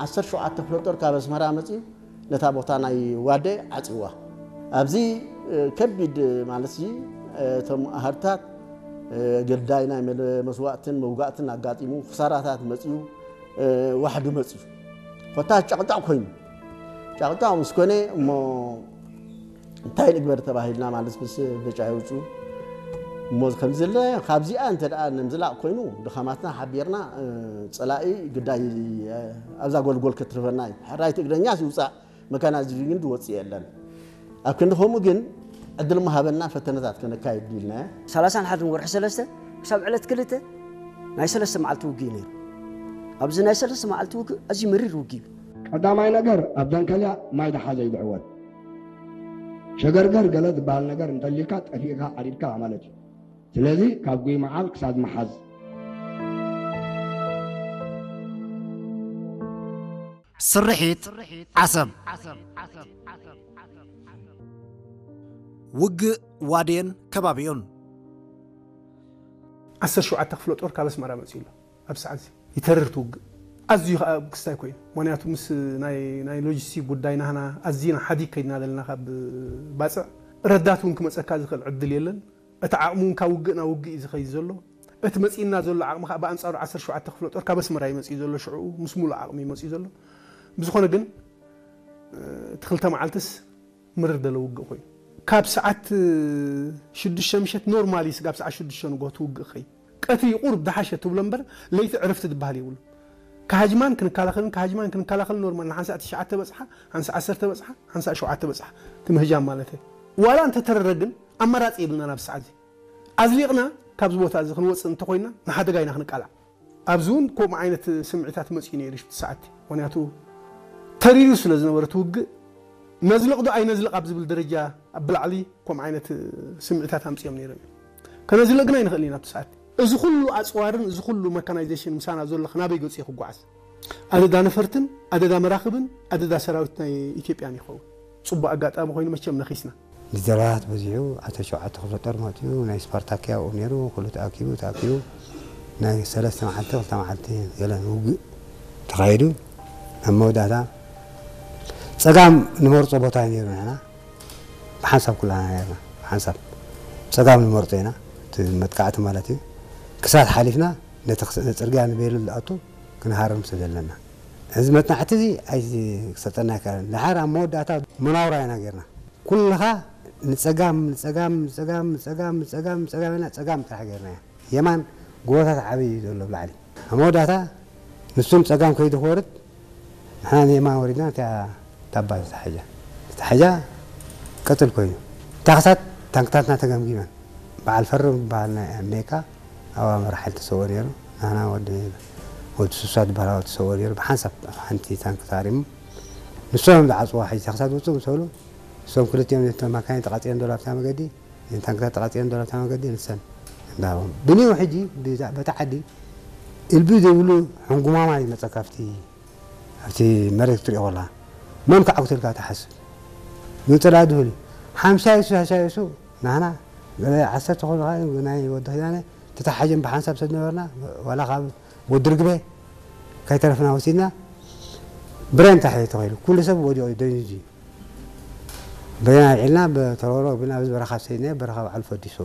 ዓሰርተ ሸውዓተ ክፍለ ጦር ካብ ኣስመራ መጺኡ ነታ ቦታ ናይ ዋዴ ዓጺዋ። ኣብዚ ከቢድ ማለት እዚ እቶም ኣሃዱታት ግዳይ ናይ መስዋእትን መውጋእትን ኣጋጢሙ፣ ክሳራታት መጺኡ፣ ዋሕዲ መጺኡ። ኮታ ጨቕጫቕ ኮይኑ፣ ጨቕጫቕ ምስ ኮነ እሞ እንታይ ንግበር ተባሂልና ማለት ምስ ብጫ ይውፁ። እሞ ከምዚ ዘለ ካብዚኣ እንተ ደኣ ንምዝላቕ ኮይኑ ድኻማትና ሓቢርና፣ ጸላኢ ግዳይ ኣብዛ ጎልጎል ክትርፈና እዩ። ሕራይ ትግርኛ ይውፃእ፣ መካናይዝድ ግን ዝወፅእ የለን። ኣብ ክንዲ ከምኡ ግን ዕድል ምሃበና ፈተነታት ከነካይድ ኢልና። ሰላሳን ሓደን ወርሒ ሰለስተ ክሳብ ዕለት ክልተ ናይ ሰለስተ መዓልቲ ውግእ እዩ ነይሩ። ኣብዚ ናይ ሰለስተ መዓልቲ ውግእ ኣዝዩ መሪር ውግእ እዩ። ቀዳማይ ነገር ኣብ ደንከልያ ማይ ደሓዘ እዩ ዝዕወት። ሸገርገር ገለ ዝበሃል ነገር እንተልዩካ ጠፊእካ ዓሪድካ ማለት እዩ። ስለዚ ካብ ጉይ መዓል ክሳብ መሓዝ። ስርሒት ዓሰብ። ውግእ ዋዴን ከባቢኡን። ዓሰርተ ሸውዓተ ክፍለ ጦር ካብ ኣስመራ መፂኡ ኣሎ። ኣብ ሰዓት እዚ ይተርር እቲ ውግእ። ኣዝዩ ከዓ ክስታይ ኮይኑ፣ ምክንያቱ ምስ ናይ ናይ ሎጂስቲክ ጉዳይ ናህና ኣዝና ሓዲግ ከይድና ዘለና ካብ ባፅዕ ረዳት እውን ክመፀካ ዝኽእል ዕድል የለን። እቲ ዓቕሚ እውን ካብ ውግእ ናብ ውግእ እዩ ዝኸይድ ዘሎ። እቲ መፂእና ዘሎ ዓቕሚ ከዓ ብኣንፃሩ ዓሰርተ ሸውዓተ ክፍለ ጦር ካብ ኣስመራ እዩ መፂኡ ዘሎ። ሽዕኡ ምስ ሙሉእ ዓቕሚ እዩ መፂኡ ዘሎ። ብዝኾነ ግን እቲ ክልተ መዓልትስ ምርር ደለ ውግእ ኮይኑ፣ ካብ ሰዓት ሽዱሽተ ምሸት ኖርማሊ ስጋብ ሰዓት ሽዱሽተ ንግሆ ትውግእ ኸይ ቀትሪ ቁሩብ ደሓሸ ትብሎ እምበር ለይቲ ዕረፍቲ ዝበሃል የብሉ። ካሃጅማን ክንከላኸልን ካሃጅማን ክንከላኸልን ኖርማል ንሓንሳእ ትሽዓተ በጽሓ፣ ሓንሳእ ዓሰርተ በጽሓ፣ ሓንሳእ ሸውዓተ በጽሓ ትምህጃም ማለት እዩ። ዋላ እንተተረረ ግን ኣማራጺ የብልና ናብ ሰዓት እዚ ኣዝሊቕና ካብዚ ቦታ እዚ ክንወፅእ እንተኮይና ንሓደጋ ኢና ክንቃላዕ። ኣብዚ እውን ከምኡ ዓይነት ስምዒታት መፅኡ ነይሩ ሽፍቲ ሰዓቲ። ምክንያቱ ተሪሩ ስለ ዝነበረ እቲ ውግእ ነዝልቕ ዶ ኣይነዝልቕ ኣብ ዝብል ደረጃ ኣብ ብላዕሊ ከምኡ ዓይነት ስምዒታት ኣምፅኦም ነይሮም እዮም። ከነዝልቕ ግን ኣይንኽእልን ኢና ኣብቲ ሰዓቲ። እዚ ኩሉ ኣፅዋርን እዚ ኩሉ መካናይዜሽን ምሳና ዘሎ ናበይ ገፂኡ ክጓዓዝ? ኣደዳ ነፈርትን ኣደዳ መራኽብን ኣደዳ ሰራዊት ናይ ኢትዮጵያን ይኸውን። ፅቡቅ ኣጋጣሚ ኮይኑ መቸም ነኺስና። ጀነራላት በዚሑ ዓሰርተ ሸውዓተ ክፍለ ጦር መፂኡ ናይ ስፓርታኪያ ኣብኡ ነይሩ ኩሉ ተኣኪቡ ተኣኪቡ ናይ ሰለስተ መዓልቲ ክልተ መዓልቲ ገለን ውግእ ተኻይዱ ኣብ መወዳእታ ፀጋም ንመርፆ ቦታ እዩ ነይሩ ንሕና ብሓንሳብ ኩላና ነርና ብሓንሳብ ፀጋም ንመርፆ ኢና እቲ መጥቃዕቲ ማለት እዩ ክሳት ሓሊፍና ነቲ ጽርግያ ንቤሉ ዝኣቱ ክንሃርም ስለ ዘለና እዚ መጽናዕቲ እዚ ኣይክሰጠና ኣይከኣለን። ደሓር ኣብ መወዳእታ መናውራ ኢና ጌርና። ኩልኻ ንጸጋም ንጸጋም ንጸጋም ንጸጋም ንጸጋም ንጸጋም ኢና ጸጋም ጥራሕ ጌርናያ። የማን ጎቦታት ዓብዪ እዩ ዘሎ ብላዕሊ። ኣብ መወዳእታ ንሱ ንጸጋም ከይዱ ክወርድ ንሕና ንየማን ወሪድና እቲኣ ታባ ዝተሓጃ ዝተሓጃ ቀጽል ኮይኑ ታኽሳት ታንክታትና ተገምጊመን በዓል ፈርም ዝበሃል ናይ ኣሜሪካ ኣብ ኣመራሓል ተሰውኦ ነይሩ። ናህና ወዲ ወዲ ሱሳ ዝበሃል ተሰውኦ ነይሩ። ብሓንሳብ ሓንቲ ታንክ ተሃሪሙ ንሶም ዝዓፅዋ ሕጂ ተኽሳት ውፅእ ምስ በሉ እሶም ክልቲኦም ነተን ማካይን ተቃፂለን ዘሎ ኣብታ መገዲ እተን ታንክታት ተቃፂለን ዘሎ ኣብታ መገዲ ንሰን እንዳሃቦም ብኒው ሕጂ ብታ ዓዲ እልቢ ዘይብሉ ሕንጉማማ ይመፀካ ኣብቲ ኣብቲ መሬት ክትሪኦ ከለኻ መን ክዓግተልካ ትሓስብ ግን ፅላእ ድሁል እዩ ሓምሳ ይሱ ሓምሳ ይሱ ናህና ገለ ዓሰርተ ኮይኑ ከዓ ናይ ወዲ ኪዳነ ተታሓጀን ብሓንሳብ ሰብ ነበርና ዋላ ካብ ወዲ ርግበ ከይተረፍና ወሲድና ብሬን ታሒ ተኸይሉ ኩሉ ሰብ ወዲቑ እዩ ደንዚዙ እዩ ብሬን ኣልዒልና ብተረሮ ቢልና ኣብዚ በረኻ ሰይድና በረኻ በዓል ፈዲሱ